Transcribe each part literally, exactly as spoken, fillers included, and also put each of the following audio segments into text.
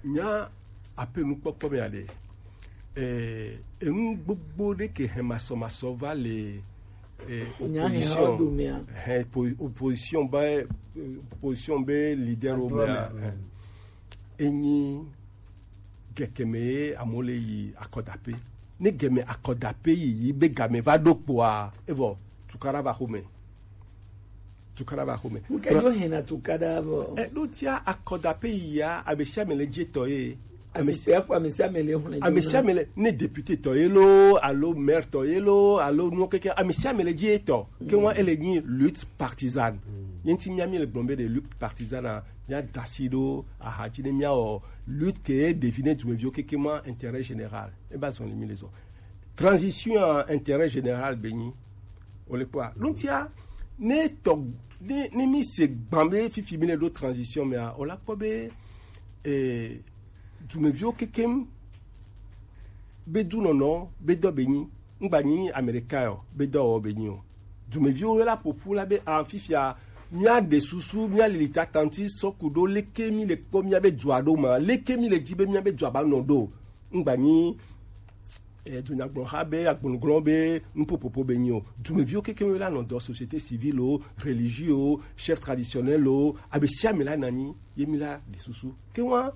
Nya ape nukpɔkpɔ mea ɖe, eh, enu gbogbo ɖe ke hɛn masɔmasɔ va le, eh, opposition, hɛn po-, opposition be, eh, opposition be leader wo mea, eh, enyi gɛkɛmɛ ye amewo le yi akɔdape. Ne gɛmɛ akɔdape yi yi be game va ɖo kpoa, evɔ tukaɖa va xome. Tukaɖa va xome. Nuke ɖo hɛn na tukaɖa vɔ? E ɖo tia akɔdape yia, ame sia ame le dzi etɔ ye. Ame si-, ame sia ame le xlẽ ame sia ame le, ne député tɔ ye lo, alo maire tɔ ye lo, alo nuwo keke, ame sia ame le dzi etɔ. Ke wa ele nyi lutte partisane. Ye ŋuti mía mi le gblɔm be ɖe lutte partisane a, mía da asi ɖo axa dzi ne mía wɔ lutte ke devine dumeviwo keke ma intérêt général. E ba zɔn le mi le zɔ. Transition a intérêt général be nyi. O le kpɔa. Ɖo ŋutia, ne tɔ, ne, ne mi se gban be fifi mi le ɖo transition mea, o la kpɔ be, eh, dumeviwo kekem be dunɔnɔ be dɔ be nyi. Ŋgba nyi Amerika o, be dɔ wɔ be nyi o. Dumeviwo la ƒoƒu la be, ah, fifia, mía ɖe susu, mía lili tatanti sɔ ku ɖo leke mi le kpɔ mía be dua ɖo ma, leke mi le dzi be mía be dua ba nɔ ɖo. Ŋgba nyi, eh, dunyagblɔha be, agblɔgblɔ be, nuƒoƒoƒo be nyi o. Dumeviwo kekewo la nɔ dɔ, société civile o, religieux o, chef traditionnel o, ame sia ame la nanyi, ye mi la ɖe susu. Ke wa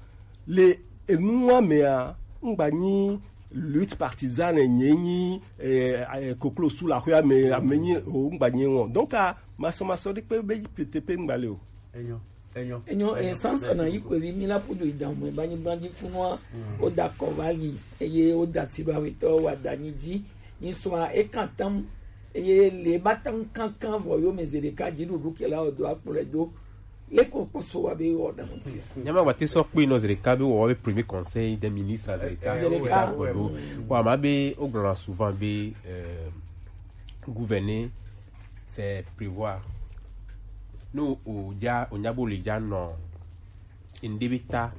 le enua mea, ŋgba nyi lutte partisane nye nyi, eh, eh, koklo su la xɔa me, ame nyi o, ŋgba nyi o. Donc, a, masɔmasɔ ɖe kpe be yi pete pe ŋgba le o. Enyo. Enyo. Enyo, eh, Samson na yi kwe vi mi la ƒu do yi da mɔ, ba nyi blanji funua, o da kɔ va yi, eye o da si ba wetɔ wa da nyi dzi, nyi sɔa e kan tam, eye le ba tam kankan vɔ yo me zi ɖeka dzi ɖuɖu ke la o do akplɔ do, le ko kpɔsɔ wa be wɔ da ŋuti. Nyama wa ti sɔ kpe nɔ zi ɖeka be wɔ be premier conseil des ministres zi ɖeka. Zi ɖeka. Bon, ama be o gblɔna souvent be, euh, gouverner, c'est prévoir. No o ja, o nya bo le ja nɔ. Ŋɖe be ta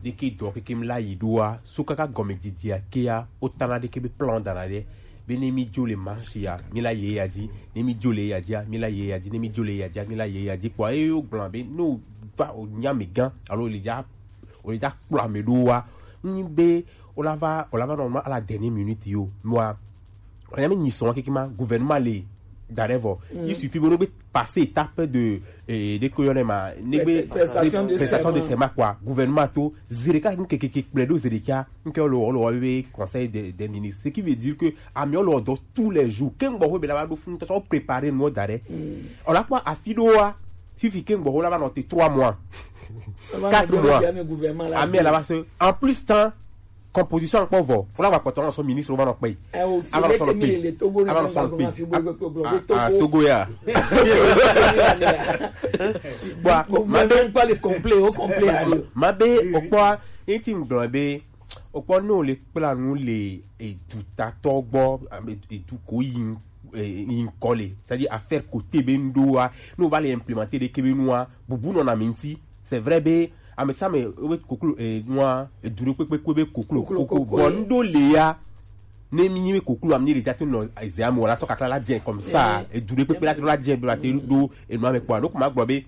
ɖeke dɔ keke mi la yi ɖoa, so kaka gɔme didia kea, o tana ɖeke be plan dana ɖe. Be ne mi jo le marche ya, mi la ye ya dzi. Ne mi jo le ya dzia, mi la ye ya dzi. Ne mi jo le ya dzia, mi la ye ya dzi. Kpɔ eye o gblɔ be no va o nya me gã alo o le ja, o le ja kplɔ ame ɖoa, nyi be o la va, o la va nɔ à la dernière minute yo. Noa, o la nya me nyi sɔn keke ma, gouvernement le da ɖe vɔ. Il suffit be no be passer étape de, eh, de koyɔ ne ma, ne be prestation de serment quoi. Gouvernement to zi ɖeka nke keke kple ɖo zi ɖeka nke le wɔ le wɔ be conseil des, des ministres. Ce qui veut dire que ame le wɔ dɔ tous les jours. Ke ŋgbɔ be la va ɖo fun tɔ préparer no da ɖe. O la kpɔ afi ɖoa, fifi ke ŋgbɔ la va nɔ te trois mois, quatre mois. Ame la va se, en plus temps, composition kpɔ vɔ, o la va kpɔtɔ nɔ sɔ ministre o va nɔ kpe. Ava nɔ sɔ nɔ kpe. Ava nɔ sɔ nɔ kpe. Ah, Togo ya. Bon, ma be, ma be, o kpɔ, eti ŋgblɔ be, o kpɔ ne o le kpla nu le edutatɔ gbɔ, ame edu ko yi, eh, yi ŋkɔ le, c'est-à-dire affaire côté be ŋɖo wa, ne o va le implémenter ɖeke be nua, bubu nɔ na mi ŋuti. C'est vrai be, ame sia ame, o be koklo, eh, nua, edu ɖe kpekpe kpe be koklo, koklo, koko, bon, ŋɖo le ya, ne mi nyi be koklo, ame nyi le ja to nɔ, eh, zea me, wala sɔ kakla la dze comme ça, edu ɖe kpekpe la to la dze, be la te ɖo, enua me kpɔa, ɖo ko ma gblɔ be,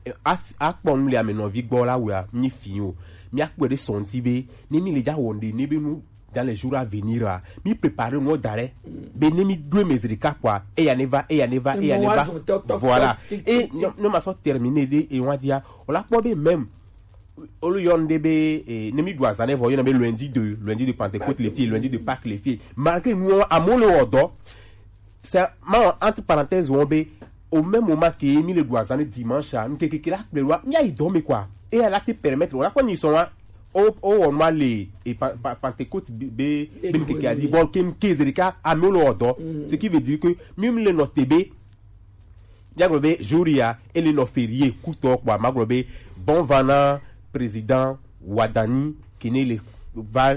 eh, af-, akpɔ nu le ame nɔvi gbɔ la wea, mi fi o, mi akpɔe ɖe sɔnti be, ne mi le ja wɔ ŋɖe, ne be nu, dans les jours à venir, ah, mi préparer no da ɖe. Be ne mi ɖo me zi ɖeka kpɔa, eya ne va, eya ne va, eya ne va. Voilà. Et non, non, ma sɔ terminer ɖe, et on va dire, o la kpɔ be même, o le yɔ ŋɖe be, eh, ne mi ɖu azan ɖe vɔ, yɔ na be lundi de, lundi de Pentecôte le fie, lundi de Pâques le fie. Malgré nous, amewo le wɔ dɔ. C'est, ma, entre parenthèses, on be, au même moment que mi le ɖu azan dimanche, a, mi keke la kple wa, mi ayi dɔ me quoi. Et elle a te permettre, on a quoi ni son, hein, o, o, on m'a le, et pa-, pa-, Pentecôte, be, be, be, mi keke a dit, bon, ke, ke, zerika, a, mi le wɔ dɔ. Ce qui veut dire que, mi, mi le note be, mi a gblɔ be, jour ya, e le nɔ férié, kutɔ, quoi, ma gblɔ be, bon, vana, président, Wadani, qui ne le, va,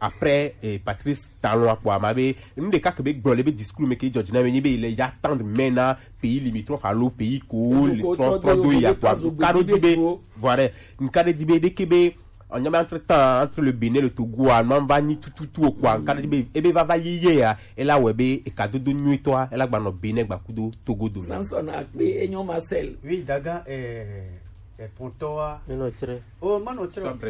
après, eh, Patrice Talon a kpɔ ama be, nu ɖeka ke be gblɔ le be discours me ke dzɔ dzi na me nyi be le ya tendre main na pays limitrophe alo pays ko le trɔ, trɔ do ya kpɔ, nka ɖo di be, voilà, nka ɖe di be, ɖeke be, ɔnyama entre temps, entre le Bénin, le Togo, a, ma va nyi tututu o kpɔ, nka ɖe di be, ebe va va yi ye ya, ela wɛ be, eka dodo nyuitɔ a, ela gba nɔ Bénin gba kudo Togo do. Samson Akpe, enyo Marcel. Oui, daga, eh, eh, fontɔ a. Menɔ tsrɛ. Oh, manɔ tsrɛ.